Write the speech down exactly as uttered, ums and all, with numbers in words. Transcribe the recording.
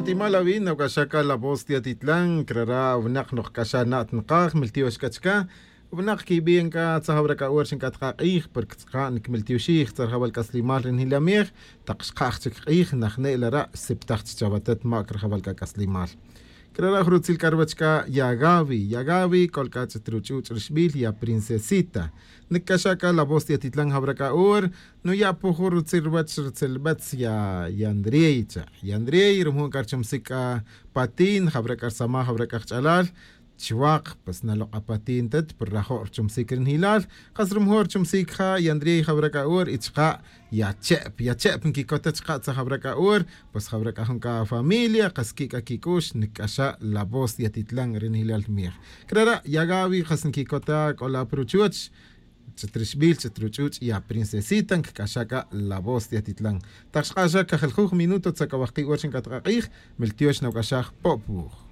Timal awi' nawc'axaj c'a la voz ti atitlan crara' winak nokc'axaj na' tnakaj miltiox c'a chica. Winak quibin c'a tzajawra c'a hora xinc'at ka k'ij porque tz'aqa' nicmiltioxij tz'arjawal c'aslimal ri njilamej. Tak xkaj chic k'ij najne' la ra' xsiptaj chi chawatet ma' crajawal c'a c'aslimal. Crara' jrutzil c'a ruwech c'a yagawi yagawi c'ol c'a ch'it ruch'uch' rixbil ya princesita. Nic'axa' c'a la voz ti atitlan jawra c'a hora nuya' puju rutzil ruwech rutzil betz ya yandrey cha yandrey rumu' c'a ruchumsic c'a patin jawra c'a rsamaj jawra c'a jch'alal. Chwak pues nalok' apatin tet pero rajo' ruchumsic ri njilal. Kas rumu' ruchumsic ja yandrey jawra c'a hora y chka' ya che'p ya che'p nquicota chka' tza jawra c'a hora. Pues jawra c'a jun c'a familia kas qui' c'a quic'ux nic'axa' la voz ti atitlan ri njilal mej. Crara' yagawi kas nquicota c'ola pa ruchuch. Chit rixbil chit ruch'uch' ya princesita ncac'axa' c'a la voz ti atitlan. Tak xk'axa' cajeljuj minuto tzakawaj ki' hora xinc'at ka k'ij. Miltiox nawc'axaj po'p wuj.